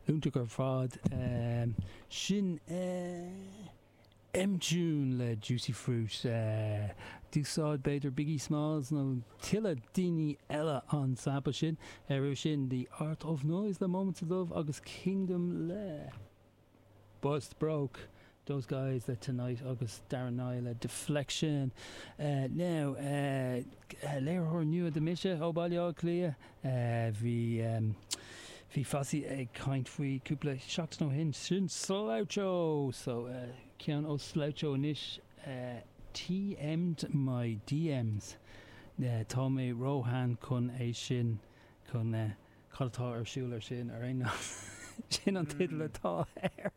Iontach ar fad. Sin M-Tune le Juicy Fruit. D'úsáid b'fhéidir Biggie Smalls nó tuilleadh daoine eile an sample sin. Roimhe sin The Art of Noise le Moments of Love agus Kingdom le Bust Broke, Those Guys le Tonight agus Darren Nye le Deflection. Now, léiritheoir nua do Mise ó Bhaile Átha Cliath. Bhí bhí Fossey ag caint faoi cúpla seachtain ó shin. Sin Sloucho! So, ceann ó Sloucho anois, TM'd my DMs. Tá mé róshean chun é sin, chun cad atá ar siúl ar sin ar aon nós. Sin an teideal atá air.